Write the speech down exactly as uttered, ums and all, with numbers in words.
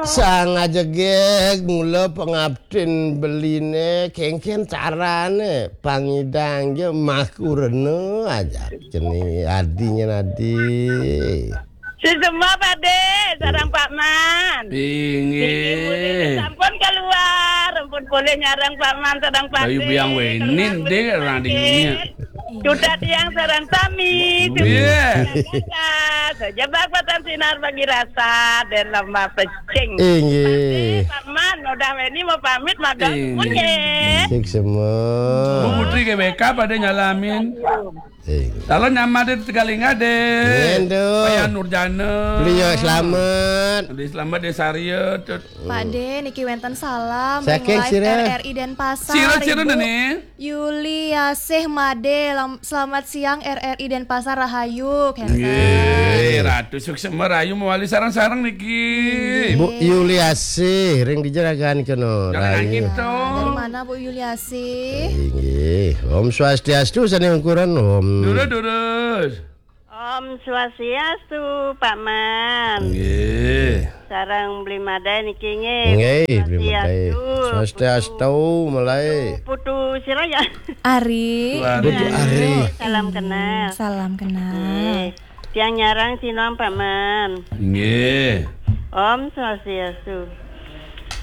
Sang ajegég mula pangabdin beliné, kéngkén carané pangidang ja makurena aja. Cening adi nyén adi. Suksma, Pak Dé, sareng Pak Man. Inggih. Niki mulih sampun keluar, ampun polih nyareng Pak Man sareng Pak Dé. Ayu biang wénin, Dé, orang di dunia. Duda tiang sareng sami. Iya. Jebak patan sinar bagi rasa dan lembah pecing. Inggih. Pak Man, udah wéni mau pamit, magang. Inggih. Suksma. Bu Putri G B K pada nyalamin. Inggih. Kalau nyamade tegaling ade. Nggih, Nduk. Paya Nurjana. Beliau selamat. Beliau selamat, Dé Sarya, Tut. Pak Dé, niki wénten salam. Saking ring live sira? R R I Denpasar, sira, sira Ibu niki? Yuliasih Made. Lam-, selamat siang, R R I Denpasar, rahayu, kénten. Nggih, Ratu suksma rahayu mawali sareng-sareng niki. Bu Yuliasih, ring dija ragan kena. Jangan rahayu. Gitu. Dari mana, Bu Yuliasih? Inggih. Om Swastiastu, sané ungkuran, Om. Durus, durus. Om Swastiastu, Pak Man. Nggih. Sareng Bli Madé niki nggih. Nggih, Bli Madé. Swastiastu. Swastiastu, Malai. Putu, Putu sira ya? Ari. Putu Ari. Putu Ari. Salam kenal. Salam kenal. Nggih. Tiang nyareng sinuang, Pak Man. Nggih. Om Swastiastu.